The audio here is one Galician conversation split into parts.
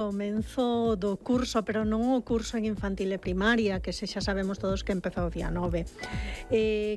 Comenzo do curso, pero non o curso en infantil e primaria, que xa sabemos todos que empezou o día 9.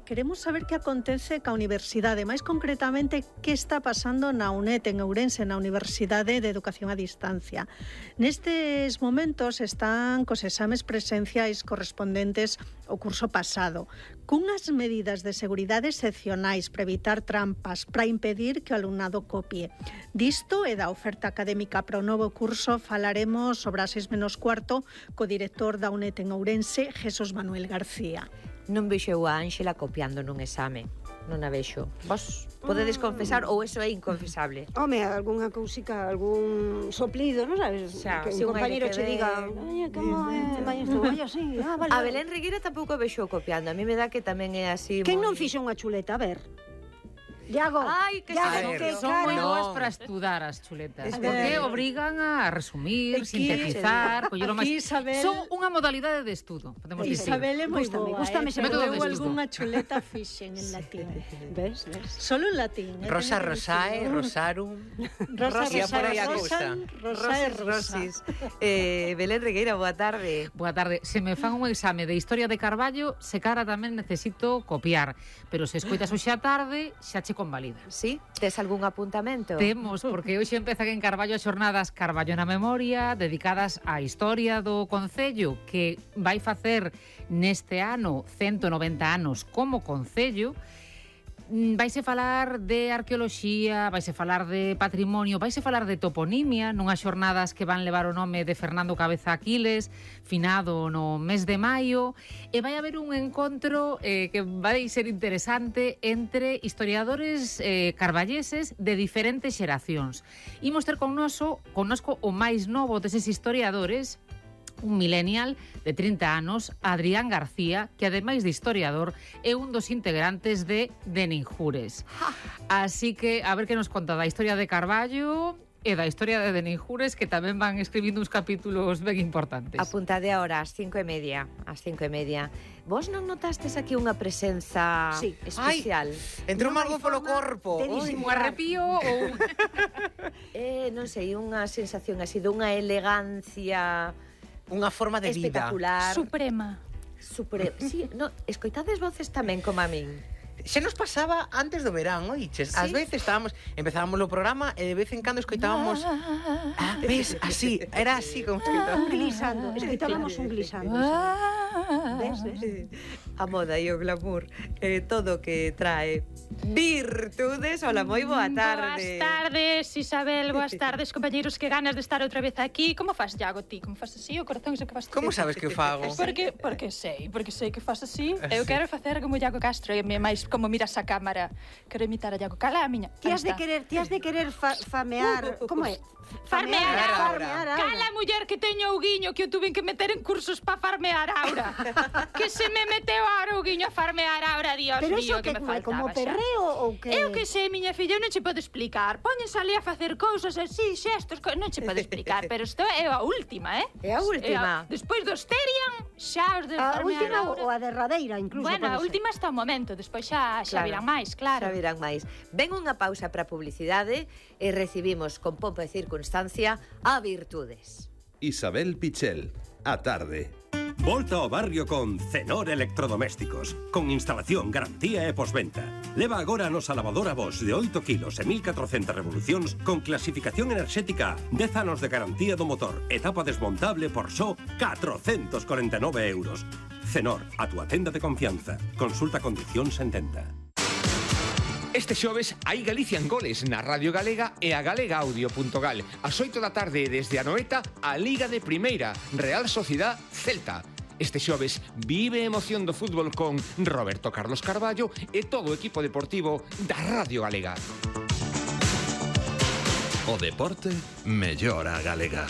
Queremos saber que acontece ca universidade, máis concretamente que está pasando na UNED, en Ourense, na Universidade de Educación a Distancia. Nestes momentos están cos exames presenciais correspondentes ao curso pasado, cunhas medidas de seguridade excepcionais para evitar trampas, para impedir que o alumnado copie. Disto e da oferta académica para o novo curso falaremos sobre as 6:15 co director da UNED en Ourense, Jesús Manuel García. Non vexo a Ánxela copiando nun exame. Non a vexo. Vos podedes confesar ou eso é inconfesable? Home, algunha cousica, algún soplido, non sabes? Xa, que si un compañero che diga, "Oye, como é, vai isto, vai así". Vale. A Belén Regueira tampouco vexo copiando. A mí me dá que tamén é así. Quen non fixo unha chuleta? A ver. Iago, Ai, que Son moi boas para estudar as chuletas, porque obrigan a resumir, sintetizar, coller o máis. Son unha modalidade de estudo, podemos dicir. Isabel é moi boa, gústame ese método de eu estudo. algunha chuleta fixen en latín. Ves? Solo en latín. Rosa Rosae, Rosarum. Rosa por aí a cousa. Rosis. Belén Regueira, boa tarde. Boa tarde. Se me fan un exame de historia de Carballo, se cara tamén necesito copiar, pero se escoitas hoxe a tarde, xa che convalida. Sí? Tes algún apuntamento? Temos, porque hoxe empezan en Carballo as xornadas Carballo na Memoria, dedicadas á historia do concello, que vai facer neste ano 190 anos como concello. Vaise falar de arqueoloxía, vaise falar de patrimonio, vaise falar de toponimia, nunhas xornadas que van levar o nome de Fernando Cabeza Aquiles, finado no mes de maio, e vai haber un encontro que vai ser interesante entre historiadores carballeses de diferentes xeracións. Imos ter connosco o máis novo deses historiadores, un millennial de 30 anos, Adrián García, que ademais de historiador é un dos integrantes de Ninjures. Así que a ver que nos conta da historia de Carballo e da historia de Ninjures, que tamén van escribindo uns capítulos ben importantes. Apuntade ahora ás 5:30. Ás 5:30. Vos non notastes aquí unha presenza especial? Entrou algo polo corpo. Un arrepío ou... Non sei, unha sensación así dunha elegancia... Unha forma de vida espectacular. Suprema. Sí, no, escoitades voces tamén como a min. Xa nos pasaba antes do verán, oiches? Ás veces empezábamos o programa e de vez en cando escoitábamos ves, así, era así como escoitábamos. Un glisando, escoitábamos un glisando. Ves? A moda e o glamour, todo que trae virtudes. Hola, moi boa tarde. Boas tardes, Isabel, boas tardes, compañeiros, que ganas de estar outra vez aquí. Como fas, Iago, ti? Como fas así? O corazón xe que fas ti? Como sabes que o fago? Porque sei que fas así. Eu quero facer como Iago Castro, e máis como miras a cámara. Quero imitar a Iago. Cala a miña. Ti has de querer famear, como é? Farmear Aura. Cala, muller, que teño o guiño, que o tuven que meter en cursos pa farmear aura. Que se me meteu ahora o guiño a farmear aura, Dios Pero mío, eso que me faltaba como xa. perreo ou que? Eu que sei, miña filla, eu non che podo explicar. Póñense ali a facer cousas así, xestos, non che podo explicar, pero isto é a última, É a última. Despois do Sterian, xa os de A farmear última aura. ou a derradeira, incluso. Bueno, a pode ser. última está o momento, despois xa virán máis, claro. Xa virán máis. Ven unha pausa para publicidade e recibimos con pompa e circunstancia a Virtudes. Isabel Pichel, a tarde. Volta ao barrio con Cenor Electrodomésticos, con instalación, garantía e posventa. Leva agora a nosa lavadora Bosch de 8 kilos e 1400 revolucións con clasificación enerxética, 10 anos de garantía do motor, etapa desmontable por só 449 euros. Cenor, a túa tenda de confianza. Consulta condicións en tenda. Este xoves hai Galicia en Goles na Radio Galega e a galegaaudio.gal. Ás 8 da tarde desde a Noeta, a Liga de Primeira, Real Sociedad Celta. Este xoves vive a emoción do fútbol con Roberto Carlos Carballo e todo o equipo deportivo da Radio Galega. O deporte mellora a galega.